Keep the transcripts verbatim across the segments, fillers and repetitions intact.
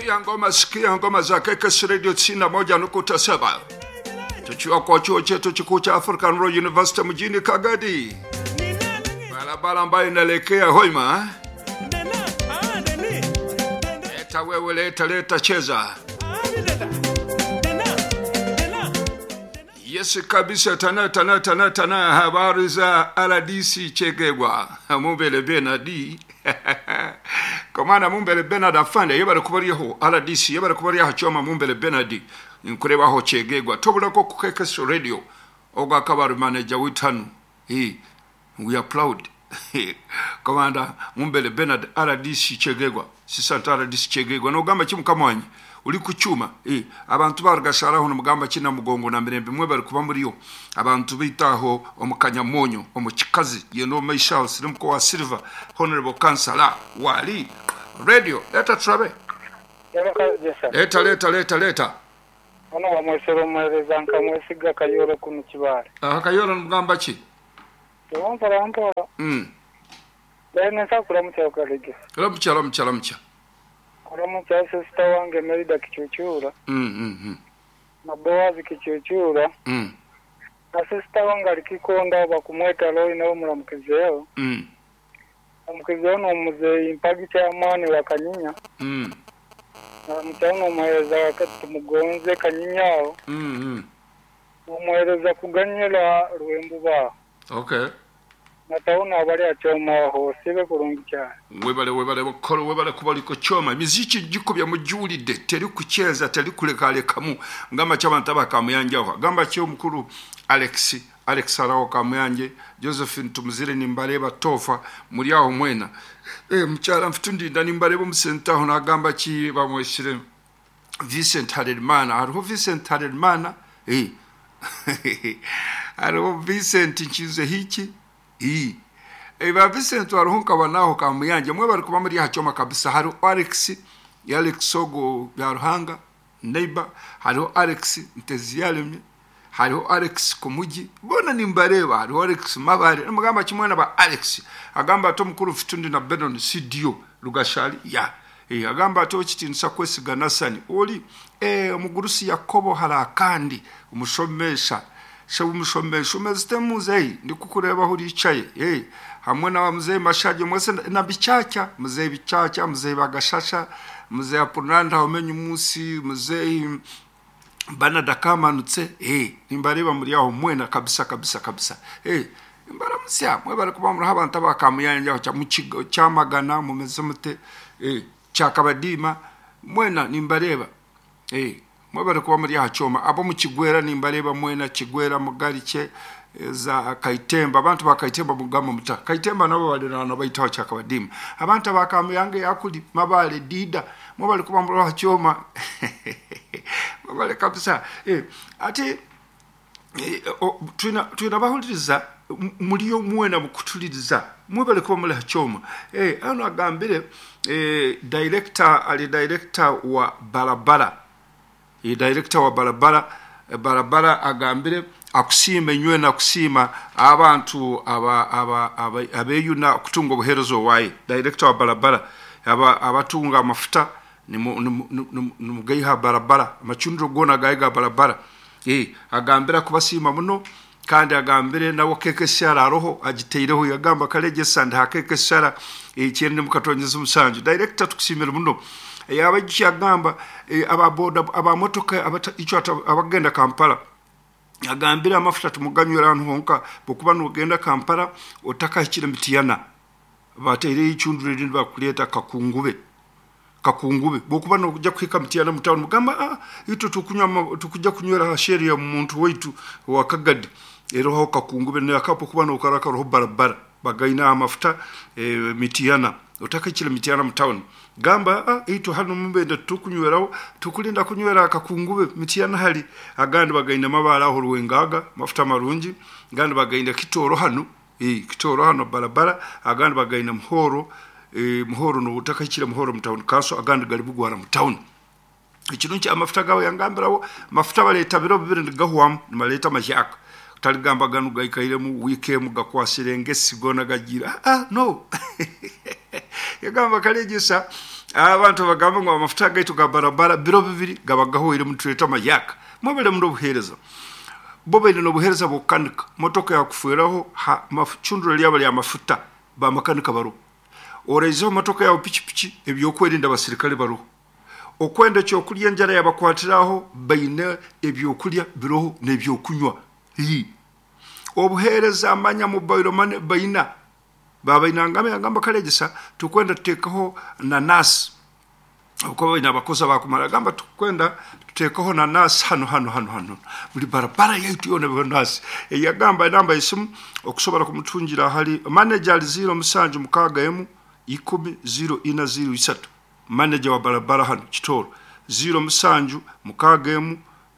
Sikia ngoma, sikia ngoma za K K S Radio tisini na moja nukta saba tukiwa kwa chuo chetu kikuu cha African Royal University mjini Kagadi, barabara ambayo inaelekea Hoima. Leta wewe, leta leta, cheza. Yes kabisa, tana tana tana tana. Habari za R D C Chegegwa Mumbere Bernard Komana Mumbere Bernard afande yebare kubariho R D C yebare kubariho choma Mumbere Bernard nkurebaho Chegegwa tobulako ku K K S Radio oga kabari manager witanu. Hey, we are proud. Komanda Mumbere Bernard R D C Chegegwa sisanta R D C Chegegwa nogamba kimukamwanyi uri kucyuma eh abantu barugasharaho n'umugamba kina mugongo na mirembe mwe bari kuba muri yo abantu bitaho omukanyamonyo omukikazi yeno maisha sirimko wa Silver Honorable Councilor wali radio leta trabe leta leta leta leta ono wa mwesero mwereza nkamwesiga Kayoro kunu kibare aha Kayoro n'umugamba ki Mpora mpora mm Bene sakura mutya kalege Ramcha ramcha ramcha Kuramucha sister wange Merida Kichuchura. Mm mm mm. Na Boazi Kichuchura. Mm. Na sister wange alikikonda bakumweta Roy na omulamukizeyo. Mm. Omukizeyo n'omuzeeyi mpagi kyamaani wa Kanyinya. Mm. Na mutano omuheereza wakati tumugonze Kanyinya. Mm mm. Omuheereza kuganyira Rwembuba. Okay. Nataona abali achoma aho sibe kurungi cyane. Webale webale bakolo webale kubaliko choma miziki gikubya mujulide teri kucheza teri kulekalekamu ngamba cy'abantu abakamuyanjaho gamba cyo mukuru Alex Alex araho kamuyanje Josephine Tumuzire nimbareba tofa muri aho mwena eh mucyara mfite ndinda nimbareba umusentaho nagamba ki bamweshire Vincent Harerimana hariho Vincent Harerimana eh hariho Vincent nkize hiki iyi eba Vincent waruhunka banaho kamuyanje mwe bari kuba muri hachoma kabisa hari Alex ya Alex Ogo ya Ruhanga neighbor hariho Alex Nteziyaremye hariho Alex Kumugi bona nimbareba hariho Alex Mabare mugamba kimwe na ba Alex agamba ato mukuru fitundi na Benon C D O Rugashali ya eh agamba ato kitinsa kwesiga nasani oli eh omugurusi Yakobo harakandi umushomesha shabu mushomesha umezite muzeyi ndikukureba aho uricaye eh hamwe na muzeyi Mashaje mwese na bicaca muzeyi bicaca muzeyi bagashasha muzeyi Apunanda umenye umunsi muzeyi bana dakamanutse eh nimbareba muri aho mwena kabisa kabisa kabisa eh imbaramusya mwe bari kuba muri abantu abakamuyanja cya mukigo cyamagana mumeze mute eh cyakabadima mwena nimbareba eh mwebare kuba muri hachoma abo mukigwera nimbareba mwena kigwera mugarike za Kaitemba abantu bakaitemba mugamba muta Kaitemba nabo balirana bayitaho cyakabadima abantu abakamuyange yakuli mabale dida mwebare kuba muri hachoma mwebare kabisa eh ati eh, twina twina bahuliriza muliyo mwena mukutuliriza mwebare kuba muri hachoma eh ano agambire eh director ali director wa barabara e director wa barabara barabara agambire akusima enywe na kusima abantu aba aba abeyuna kutunga obuherezo waye director wa barabara aba abatunga amafuta ni mugaiha barabara amachundro gona gaiga barabara eh agambira kubasima muno kandi agambire nawo keke shara roho agiteireho yagamba kaleje sanda hakeke shara ikindi mukatonyeza umusanju director tukusimira muno yabajja agamba aba boda aba motoka icyo abagenda Kampala agambira amafuta tumuganywera ahantu honka bokuba nogenda Kampala otakahikira mitiyana bateire ichundure rindi bakuleta kakungube kakungube bokuba nokujja kuhika mitiyana mutawuni mugamba ah ito tukunywa tukujja kunywera sheria ya muntu waitu wakagadi eroho kakungube ne akapo kuba nokaraka roho barabara bagaina amafuta e, mitiyana otakachira mitiyana mutawuni gamba ah ito hano mubende tukunywerawo tukulinda kunywera akakungube mitiyana hali agandi bagaina mabara aho ruwengaga mafuta marungi gandi bagaina kitoro hano eh kitoro hano barabara agandi bagaina muhoro eh muhoro no utakachira muhoro mutawuni kaso agandi gari bugwara mutawuni ikirunki amafuta gawe yangambirawo mafuta baleta biro bibiri ndigahwamu nimaleta mashyaka taligamba ganu gaikairemu wikemu gakwasire ngesigona gagira ah no yagamba kalegesa Abantu bagamba ngu amafuta gaitu ga barabara biro bibiri gaba gahwire, mutuleta amayaka. Mwebale muno obuheereza. Bo baine n'obuheereza bw'okukanika motoka yakufweraho, ha mafcunduro lyaba lya mafuta, bamakanika baruho. Oraizeho motoka yawe, pikipiki, ebyokwerinda abasirikale baruho. Okwenda ekyokurya, enjara yabakwatiraho, baine ebyokurya biroho n'ebyokunywa. Hii. Obuheereza amanya mobile money baina babainangamba yagamba kalegesa tukwenda tuteekaho nanasi, okuba baine abakozi abakumara. Gamba tukwenda tuteekaho nanasi hano hano hano hano, buli barabara yaitu yona biho nasi. Eyagamba enamba yesimu okusobola kumutungira hali manager ali ziro musanju mukaaga emu ikumi ziro ina ziro isatu, manager wa barabara hano Kitoro, ziro musanju mukaaga emu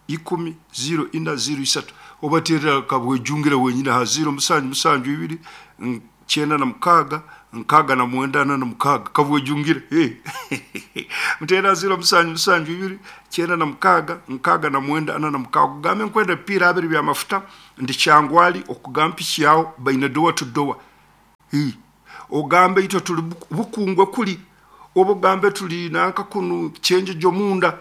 ikumi ziro ina ziro isatu. Obaterera kabwejungira wenyine ha ziro musanju musanju ibiri mm, kyenda na mukaaga nkaaga na mwenda ana na mukaaga. Kabwejungire. Hey. Mutera ziro musanju musanju ibiri kyenda na mukaaga nkaaga na mwenda ana na mukaaga, kugambe nkwenda ebipiira abiri bya mafuta, ndi Kyangwali, okugamba piki yawe baine door to door. Hii. Ogambe itwe tuli Buku- bukungwe kuli, oba ogambe tuli nanka kunu kyenjejo munda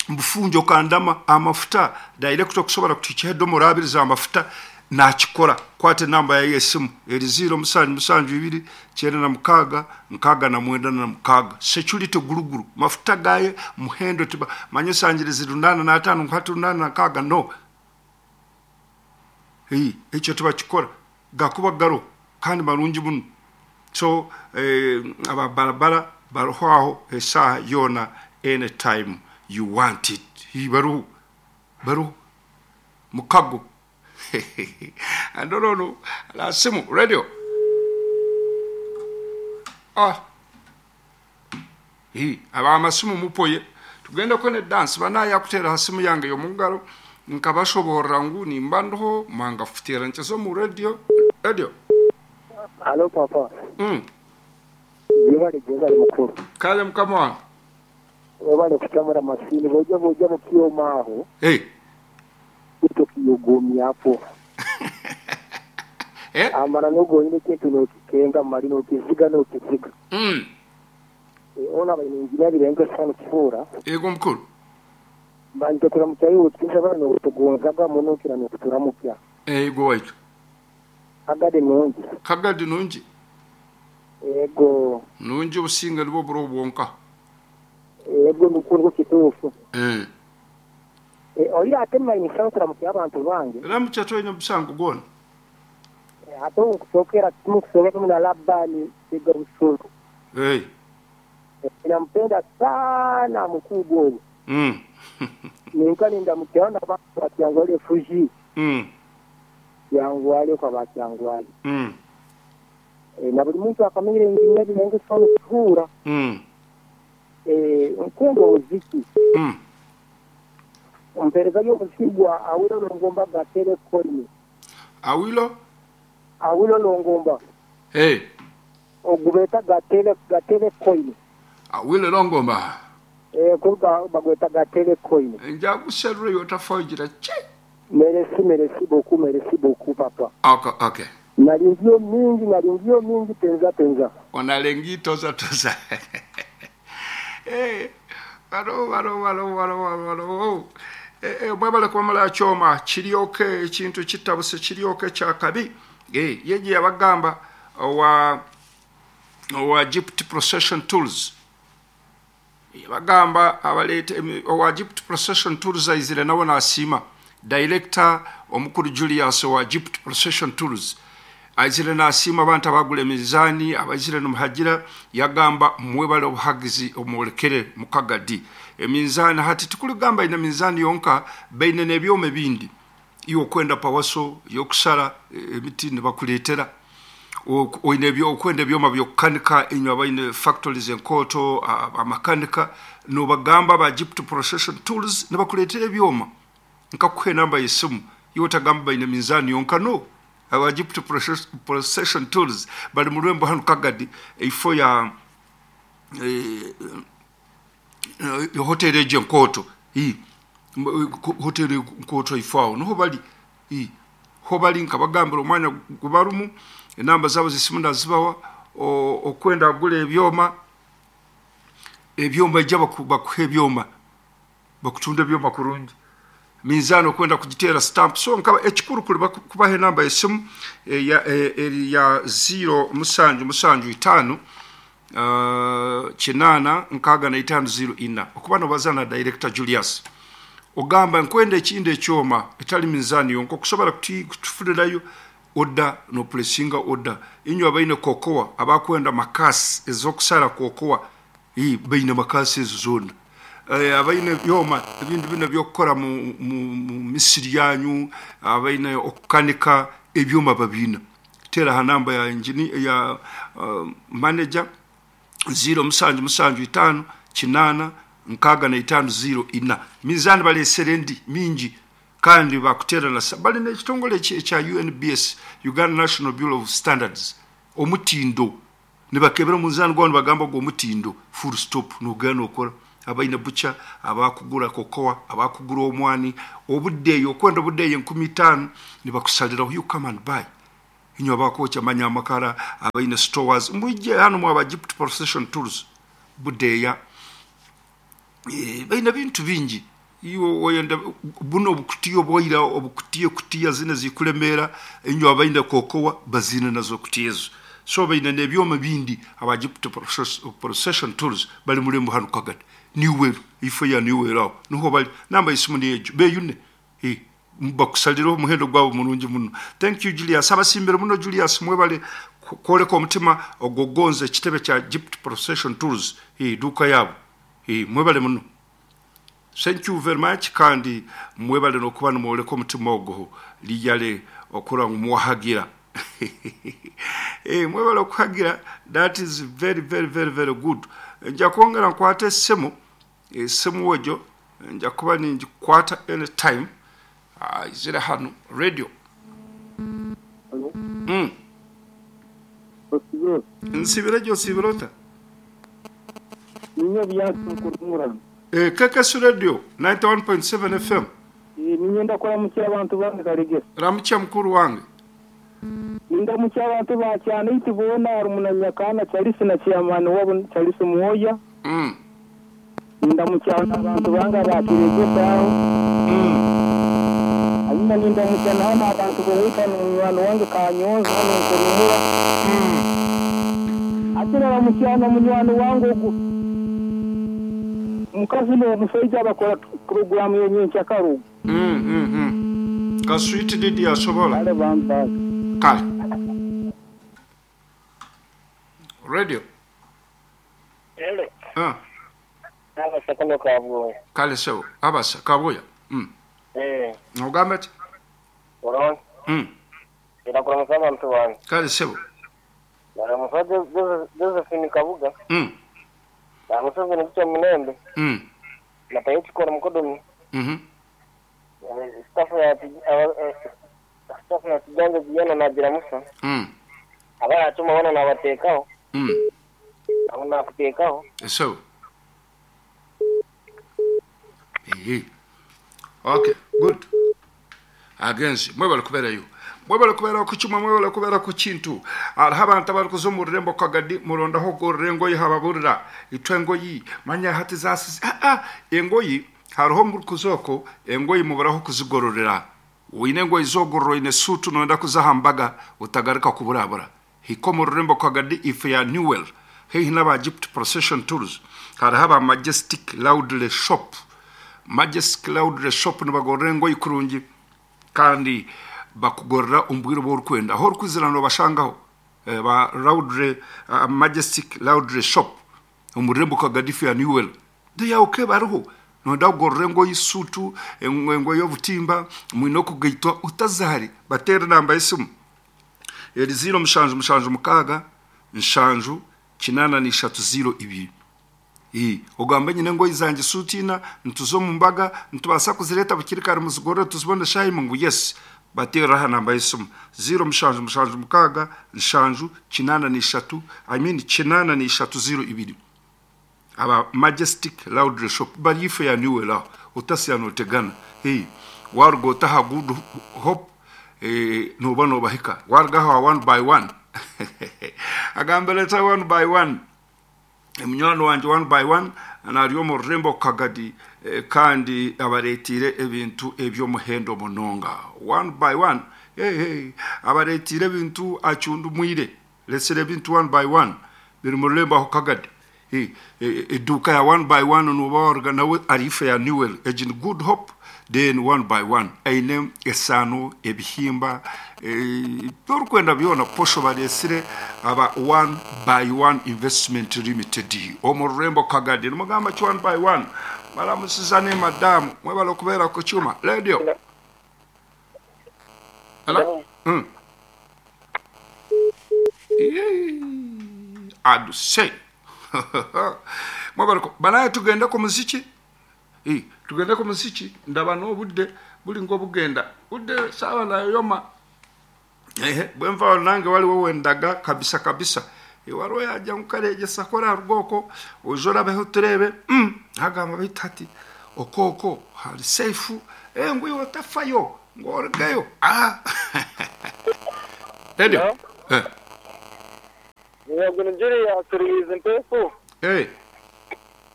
mbufunjo kandama amafuta direct, okusobola kutukiha edomora abiri za mafuta nakikora. Kwata enamba yaye esimu eri ziro musanju musanju ibiri kyenda na mukaaga nkaaga na mwenda na mukaaga. Security guruguru mafuta gaye muhendo tiba manye sangirizi runana na atano nkwata runana na nkaaga no. Hii, ekyo tibakikora, gakuba garo kandi marungi muno. So eh, ababarabara baruho aho esaaha yoona, anytime you want it. Hii, baruho baruho mukago andorono la simu radio. Ah, hii, abamasimu mupoye tugenda kwene dance banaya kutera ha simu yange yomungaro nkabashoborera ngu nimba ndiho mwangafutera nchezo mu radio radio. Halo papa. mm. Yebale jebale mukuru. Kale mukama wange. Webale kutamura masini boja boja mukyoma aho. Hey. Utokiyogomyapo. Eh? Amara nogonyine kintu nokikenga mali nokiziga nokiziga. Mm. E, ona bainenginya birenga sana kifura. Ego mukuru. Banje kuramukya yutinza bano kutugonzaga muno kira nokuturamukya. Ego waitu. Agade nungi. Kagadi nungi. Ego. Nungi obusinga nibwo buro bwonka. Ego nukuru kituufu. Eh. E, oyo ate mmanyi kuramukya abantu bange. Ramukya toyina omusango gwona. E, ate nkusokera kimu kusokera kimu na Labani Siga Busuru. Hey. E, nampenda sana mkubwa huyo. Mm. Ninka nindamukiona abantu bakyangwale Fuji. Mm. Kyangwale kwa bakyangwale. Mm. E, na buli muntu akamanyire enginya birenge sana kuhura. Mm. E, nkunda omuziki. Mm. Ompereza y'omuziki gwa Awilo Longomba gatere koini. Awilo? Awilo Longomba. Hey. Ogubeta gatere gatere koini. Awilo Longomba. Eh, kuruga bagweta gatere koini. Nja kuserura yotafogira che. Merci, merci beaucoup, merci beaucoup papa. Okay, okay. Nalingio mingi, nalingio mingi penza penza. Onalengi toza toza. Eh, baro baro baro baro baro. Eh, eh, mwebale kwamala choma kiryoke ekintu kitabuse kiryoke kyakabi. Eh, yeje yabagamba wa wa Egypt Procession Tools. Yabagamba abalete owa Egypt Procession Tools aizire nabo nasima. Director omukuru Julius wa Egypt Procession Tools aizire nasima abantu abagula emizani abaizire nomuhagira yagamba mwebale obuhagizi omwolekere mukagadi eminzani. Hati tukuligamba ina minzani yonka, baine n'ebyoma ebindi iwe okwenda pawaso yokusara emiti nibakuleetera, oine ebyo okwenda ebyoma byokukanika inywe abaine factories enkoto amakanika nobagamba ba Egypt Procession Tools nibakuleetera ebyoma. Nkakuha enamba y'esimu iwe otagamba baine minzani yonka no. Aba Egypt Procession Tools bali mu rwembo hano Kagadi eifo ya e, e, hoteli egyo enkoto. I hoteli enkoto ifo aho niho bali. I ho bali nkabagambira omwanya gubarumu enamba zabo zisimu ndazibawa okwenda agula ebyoma. Ebyoma ija baku, bakuha ebyoma, bakutunda ebyoma kurungi, minzaani okwenda kugiteera stamp. So nkaba ekikuru kuri baku- kubaha enamba y'esimu eya- e- eri ya ziro musanju musanju itaano, uh, kinaana nkaaga na itaano ziro ina, okuba nobaza na Director Julius, ogamba nkwenda ekindi ekyoma etali minzaani yonka okusobola kuti- kutufurirayo oda nopulesinga oda. Inywe abaine kokowa, abakwenda makasi ez'okusara kokowa, ii, baine makasi ezo zoona. Eh, abaine byoma ebintu bino byokukora mu, mu, mu misiri yanyu, abaine okukanika ebyoma babiina. Tera ha namba ya engineer, ya uh, manager ziro musanju musanju itaano kinaana nkaaga na itaano ziro ina. Minzaani balesere endi mingi kandi bakutera na sa- balina ekitongole eki- ekya U N B S, Uganda National Bureau of Standards, omutindo. Nibakebera omunzaani gwawe, nibagamba gwo omutindo, full stop, nogenda nokora. Abaine bucha, abakugura kokowa, abakugura omwani, obuddeeyo okwenda obuddeeyo enkumi itaano, nibakusaliraho, you come and buy. Inywe abakwokya manya amakara, abaine stores, mwije hano mwaba Egypt Procession Tools budeeya. Eh, baine bintu bingi. Iwe oyenda buno obukutiya obwaira, obukutiya kutiya zine zikulemera, inywe abaine kokowa bazine nazo kutiya ezo. So baine n'ebyoma bindi. Aba Egypt Process- procession Tools bali mulembo hano Kagadi, Niwero, ifo ya Niwero, aho niho bali. Namba y'esimu niyejo beyune. Eh, bakusaliraho omuhendo gwabo murungi muno. Thank you, Julius. Abasimbire muno Julius, mwebale ku- kwoleka omutima ogogonza ekitebe kya Egypt Procession Tools, eh, duuka yabo. Eh, mwebale muno, thank you very much. Kandi mwebale nokuba nimwoleka omutima ogwo lijale okura ngu muwahagira. Eh, mwebale okuhagira, that is very, very, very, very good. Nja kwongera nkwata essimu, esimu egyo nja kuba ningikwata anytime. Ah, izire hano radio. mm. Nsibire gyo, nsibire ota? Ninyo byansi nkurumurano. Eh, K K S Radio ninety-one point seven F M. Ninyo ndakuramukya abantu bange Karegesa. Ramukya mukuru wange. Nindamukya abantu ba cyane iti bona rumunanyakana Charles na chairman wabo Charles Muhoya. mm. Nindamukya abantu bange abakiregesa aho. Mm. Hanyuma nindamukya naho n'abantu bowita n'umwana wange Kanyonza hano nkurumura. Mm. Ate naramukya na munywani wange ogu mukazi n'omushaija bakora poroguramu yenyenkyakarugu. Mm, mm, mm. Kaswiti didi asobola. Kale bambaga. Kale radio. Hello. Ah, Abasakano kabwoya. Kale sebo abasa kabuya mm. Eh, Ogamba ki? Oron. mm. Irakuramutsa abantu bange. Kale sebo. Naramusa Josephine Kabuga. mm. Na Museveni kucha Munembe. mm. Na Payechikora Mukodomi. mm Staff ya staff ya Kijanja Kijana na Biramusa. mm. Abayatuma bona nabateekaho. mm. Abo nakuteekaho. Sebo. Ehe. Okay, good. Agenzi mwebale kubeerayo, mwebale kubeera ku kimwe, mwebale kubeera ku kintu. Hariho abantu abarikuza omu rurembo Kagadi, murondaho ogorora engoyi, hababurira itwe engoyi manya hati zasize. Ah, ah, engoyi hariho murikuza oko engoyi muburaho kuzigororera. Wine engoyi zogorora, oine suutu noyenda kuza aha mbaga, utagaruka kuburabura. Hika omu rurembo Kagadi, ife ya Newell, haihi n'aba Egypt Procession Tools. Hariho aba Majestic Loudly Shop. Majestic Loudly Shop nibagorora engoyi kurungi kandi bakugorora omu bwire obu orikwenda. Aho orikwizira nobashangaho. Eh, ba Loudly, uh, Majestic Loudly Shop omu rurembo Kagadi ya Newell, they are okay. Bariho noyenda kugorora engoyi, suutu, engoyi y'obutimba, mwine okugaitwa utazahari. Bateera namba y'esimu eri ziro mushanju mushanju mukaaga nshanju kinaana n'ishatu ziro ibiri. Ii, ogamba nyine engoyi zange suuti ina, nituza omu mbaga, nitubaasa kuzireeta bukiri kare muzigorore tuzibone shaahimu? Ngu yes. Bateera aha namba y'esimu ziro mushanju mushanju mukaaga nshanju kinaana n'ishatu, I mean kinaana n'ishatu ziro ibiri. Aba Majestic Loudly Shop bari ife ya Newell aho utasiya notegana. Hey, waruga otaha Good Hope, eh, noba nobahika waruga aho one by one, agamba leta one by one. Munywani wanje one by one nari omu rurembo Kagadi, eh, kandi abareetiire ebintu eby'omuhendo munonga. One by one, hey, hey, abareetiire ebintu acundumwire, resire ebintu one by one biri mu rurembo aho Kagadi. Hey, eh, eduuka ya one by one noba waruga nawe ari ife ya Newell, egi ni Good Hope, then one by one aine esaano, ebihimba, ebyorukwenda byona, posho baresire aba One by One Investment Limited omu rurembo Kagadi. Nimugamba ki one by one? Baramusiza ne madamu, mwebale okubeera ku kyuma radio. Hello? Mm. Aduse mwebale banaye, tugende ku muziki. Eh, tugende ku muziki, ndaba n'obudde buli ng'obugenda budde saawa nayoma. Ehe, bwenva nange waliwo wendaga kabisa kabisa. Eh, waliwo yajja nkukaregesa kora rwoko oje orabeho turebe. mm, agamba bita ati okoko hari safe, eh ngwiwe otafayo ng'orugayo. Ah, radio. Hello? Eh. Yego, Nigeria turihiza impefu. Eh.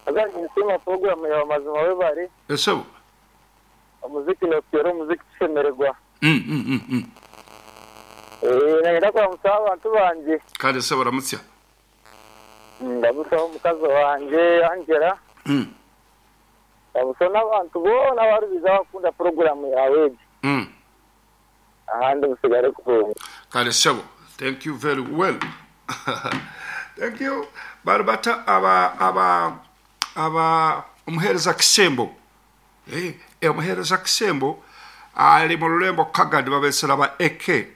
Azanye isima program ya mazima we bari. Esebo. Umuziki nokero umuziki tushemererwa. mm mm mm, mm. Eh, nagenda kwa musaba abantu banje. Kandi se baramutsya? Ndamusaba omukazi wanje Angela. mm. Ndamusaba n'abantu boona barubiza bakunda program yawe egi. mm. Ahandi musigare kurungi. Kale sebo, thank you very well, thank you. Bari bata aba aba aba omuheereza Kisembo. Eh, eh, omuheereza Kisembo ali mu rurembo Kagadi, babesera aba A K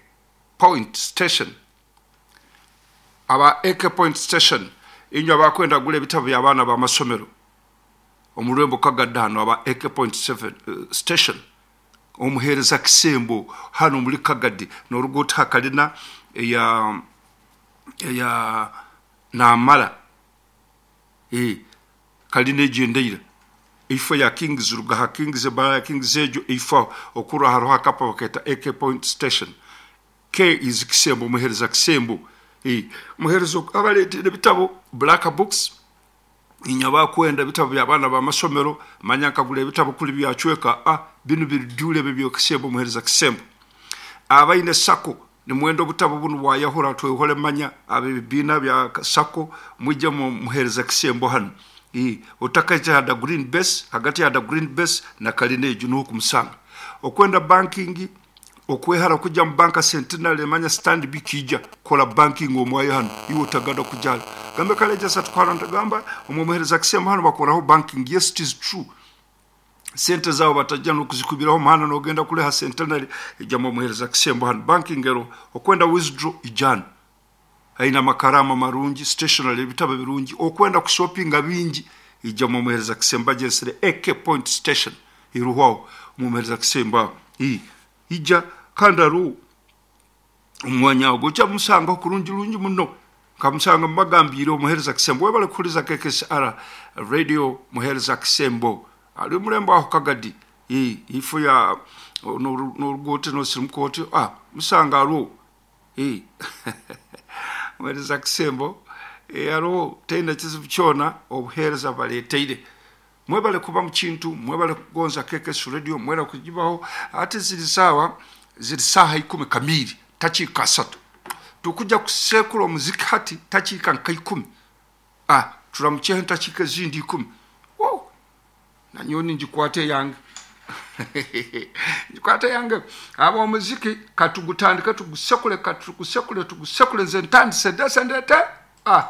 Point Station, aba A K Point Station. Inywe abakwenda gula ebitabo by'abaana b'amasomero omu rurembo Kagadi hano, aba A K Point seven uh, Station, omuheereza Kisembo hano muri Kagadi n'oruguuto hakalina eya eya namara, eh kalina egyendeire ifo ya Kings, ruga ha Kings, ebara ya Kings egyo ifo okura hariho akapa baketa A K Point Station. K is Kisembo, omuheereza Kisembo. Eh, omuheereza abaleetera ebitabo, black books. Inya bakwenda ebitabo by'abaana b'amasomero, manya nkagula ebitabo kuli byacweka, ah binu birijule ebyo byokisembo, omuheereza Kisembo. Abaine sako nimwenda obutabo bunu bwayahura twehole, manya abebibiina bya sako mwijje mu muheereza Kisembo hano. Eh, otakaija hada Green Base, hagati ya da Green Base na kalina egyo niho kumusanga. Okwenda banking, okwehara kujja mu banka Centenary, manya Stanbic ija kola banking omwayo hano, iwe otaganda kujala gambe kaleja satwara ntagamba omumuhereza Kisembo hano bakoraho banking. Yes, it is true, sente zabo batajja nokuzikubiraho muhanda nogenda kuleha Centenary, ijja mumuhereza Kisembo hano banking ero. Okwenda withdraw ijana aina amakarama marungi, stationary, ebitabo birungi. Okwenda kushoppinga bingi, ijja mumuhereza Kisembo agyesere A K Point Station iruhwaho mumuhereza Kisembo aho. I ija kandi aru omwanya ogwo ojja musangaho kurungi rungi muno, nkamusanga mubagambire omuhereza Kisembo. Webale kuhuriza K K S R Radio. Muhereza Kisembo ali omulembo aho Kagadi. I ifo ya n'oruguuto nosirimuka ah musanga aruwo. I muhereza Kisembo, eh, hariho teine kizibu kyona, obuheereza baleeteire. Mwebale kuba mu kintu, mwebale kugonza K K S Radio, mwebale kugibaho. Ate ziri saawa ziri saaha ikumi kamiri takiika asatu, tukujja kusekula omuziki hati takiika nka ikumi. Ah, turamukyeho entakiika ezindi ikumi. Wow. Nanyowe ningikwata eyange, ngikwata eyange. Aba omuziki katugutandike, tugusekule, katugusekule, tugusekule. Nze ntandise ndese ndete ah